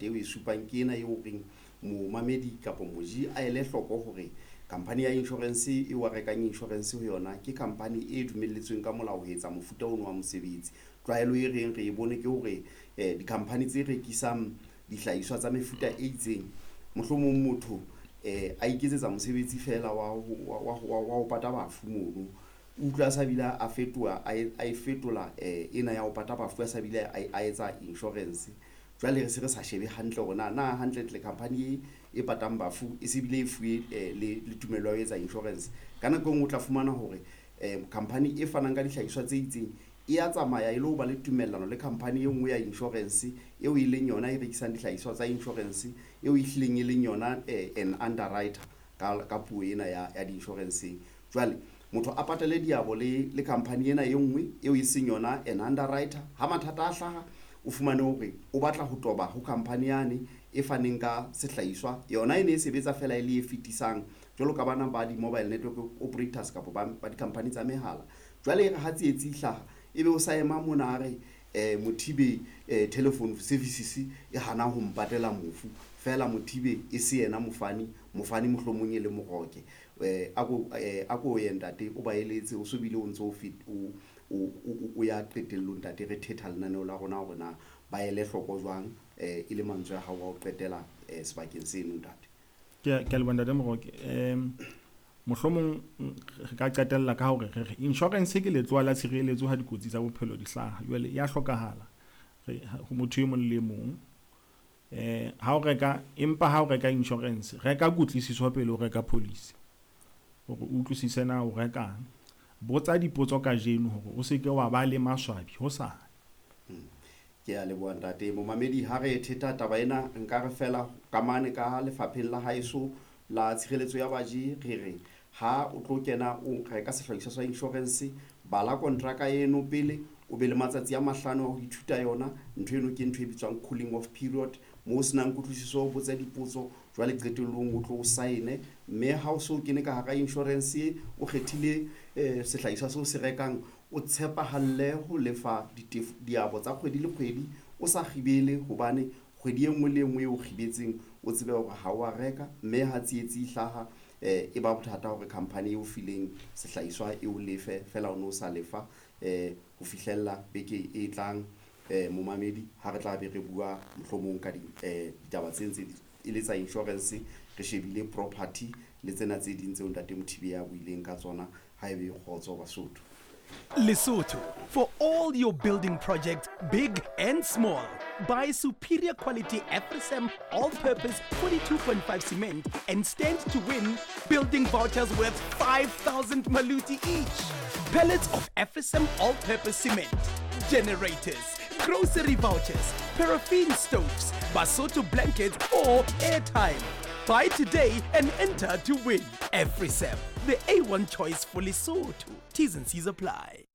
Eo e supang ke ena eo reng momamedi kapa moji a ele hloko hore khampani ya insurance eo a rekang insurance ho yona ke khampani e dumelletsweng ka molao ho etsa mofuta ono wa mosebetsi. Tlwaelo e reng re e bone ke hore dikhampani tse rekisang dihlahiswa tsa mefuta e itseng, mohlomong motho a iketsetsa mosebetsi feela wa ho pata bafu mono. Utlwa a sa bile a fetoha a e fetola ena ya ho pata bafu a sa bile a etsa insurance. Jwale re se re sa shebe hantle hore na hantlentle khampani e patang bafu e se bile e fuwe le tumello ya ho etsa insurance. Ka nako e nngwe o tla fumana hore khampani e fanang ka dihlahiswa tse itseng e ya tsamaya e lo ba le tumellano le khampani e nngwe ya insurance eo e leng yona e rekisang dihlahiswa tsa insurance, eo e hlileng e leng yona an underwriter ka puo ena ya di-insurance-eng. Jwale motho a patale diabo le khampani ena e nngwe eo e seng yona an underwriter. Ha mathata a hlaha, o fumane hore o batla ho toba ho khampani yane e faneng ka sehlahiswa, yona e ne e sebetsa fela e le e fetisang jwalo ka bana ba di-mobile network operators kapa ba di-company tsa mehala. Jwale e re ha tsietsi e hlaha, ebe o sa ema mona a re Mothibe telephone services e hana ho mpatela mofu fela, Mothibe e se yena mofani, mofani mohlomong e le Moroke. A ko ye ntate o ba eletse, o so bile o ntso o ya qetellong ntate, re thetha lenaneo la rona hore na ba ele hloko jwang e le mantswe a hao a ho qetela sebakeng seno ntate. Ke a leboha ntate Moroke. Mohlomong re ka qetella ka hore re re insurance ke letloa la tshireletso ha dikotsi tsa bophelo di hlaha. Jwale ya hlokahala ho motho e mong le mong. Ha o reka, empa ha o reka insurance, reka kutlwisiso pele o reka policy hore o utlwisise na o rekang. Botsa dipotso kajeno hore o se ke wa ba le maswabi hosane. Ke a leboha ntate. Momamedi, ha re theta taba ena, nka re fela ka mane ka lefapheng la haeso la tshireletso ya baji, re re ha o tlo kena o reka sehlahiswa sa insurance, bala kontraka eno pele, o be le matsatsi a 5 a ho ithuta yona. Ntho eno ke ntho e bitswang cooling off period, moo o senang kutlwisiso o botse dipotso, jwale qetellong o tlo o saene. Mme ha o so kene ka hara insurance, o kgethile sehlahiswa seo se rekang, o tshepahalle ho lefa diabo tsa kgwedi le kgwedi, o sa kgibele, hobane kgwedi e nngwe le e nngwe eo o kgibetseng o tsebe hore ha o a reka. Mme ha tsietsi e hlaha e ba bothata hore khampani eo fileng sehlahiswa e o lefe fela o no sa lefa ho fihlella beke e tlang. Momamedi, ha re tla be re bua mohlomong ka ditaba tse ntse e le tsa insurance, re shebile property le tsena tse ding tseo ntate Mothibe a buileng ka tsona. Ha ebe kgotso Basotho. Lesotho, for all your building projects, big and small. Buy superior quality Afrisam all-purpose 42.5 cement and stand to win building vouchers worth 5,000 maluti each. Pallets of Afrisam all-purpose cement, generators, grocery vouchers, paraffin stoves, Basotho blankets or airtime. Buy today and enter to win. Afrisam, the A1 choice for Lesotho. T's and C's apply.